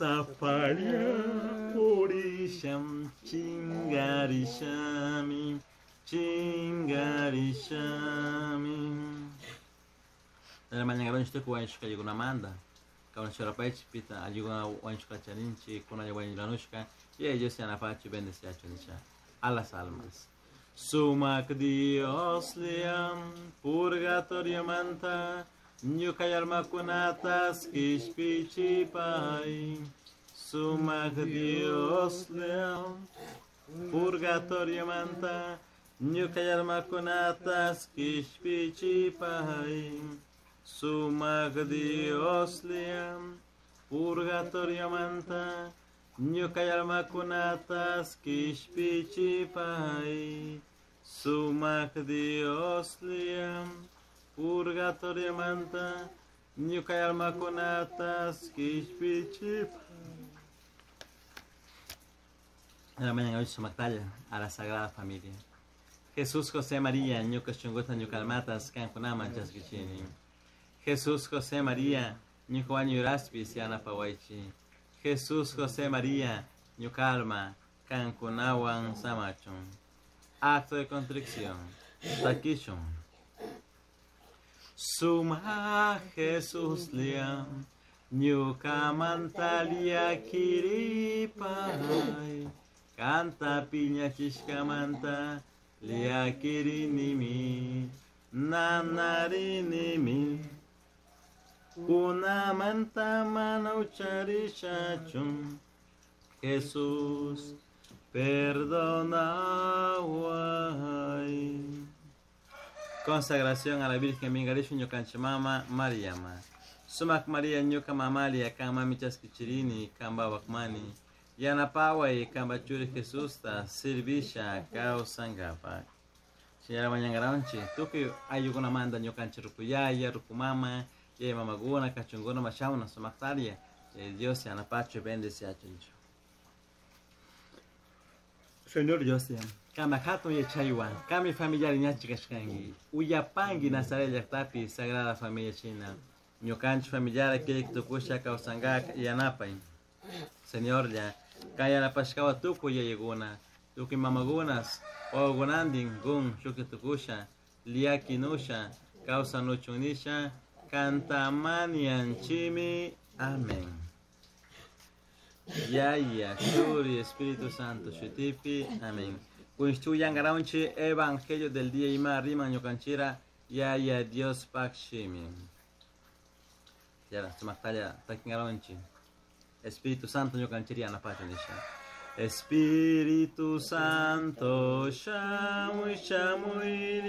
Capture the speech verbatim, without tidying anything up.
Sapalla purisham chingarishami chingarishami. Mañangaronchi tukuy wañushka ayllunamanta kawsashurapaychik pita ayllukuna wañushka charinchik kunalla wañuranushka y ellos yanapachu bendeciachu nisha a las almas. Sumak Dios liam purgatorio manta ñuka almakunatas kishpichipay. Sumak Dios liam purgatorio manta ñuka almakunatas kishpichipay. Sumak Dios liam purgatorio manta ñuka almakunatas kishpichipay. Sumak Dios liam purgatorio manta ñuka almakunatas kishpichipay. En la mañana hoy sumaktalla a la Sagrada Familia. Jesús, José, María, ñuka shunguta ñuka almatas kankunaman chaskichini. Jesús, José, María, ñuka wañuraspis yanapawaychi. Jesús, José, María, ñuka alma kankunawan samachun. Acto de contrición. Takishun. Suma Jesús liam ñuka mantalia kiripay. Canta piña chishkamanta liakirinimi nanarinimi. Kunamanta mana ucharishachun. Jesús, perdonaway. Consagración a la Virgen Mingarishu ñukanchimama Mariama. Sumak María ñuka mamalia kama chaskichirini kamba wakmani. Yanapaway kamba churi Jesusta sirvisha kawsankapak. Señora mañangaranchi, tukuy ayllukunamanta ñukanchik rukuyaya, rukumama, yaya mamakuna, kachunguna mashauna sumaktaria. Dios yanapachu bendeciachunchu. Señor Dios, kama hatun yachaywan, kami familiar ñachi kashkanki, uyapanki Nazaret llaqtapi Sagrada Familia china. Ñukanchik familiar kirik tukusha kawsankak yanapay. Señor ya, kay yanapashkawa tukuy yayakuna, tukuy mamakunas, wawakunantin kun shuki tukusha, liakinusha, kawsanuchun kantamanianchimi. Amén. Yaya, Churi, Espíritu Santo, Shutipi, amén. Kunshtu Evangelio del día ima rima ñukanchira, Yaya Dios pakshimi. Yara, sumaktalla takingaronchi. Espíritu Santo ñukanchiri anapacha nisha. Espíritu Santo, shamuy shamuy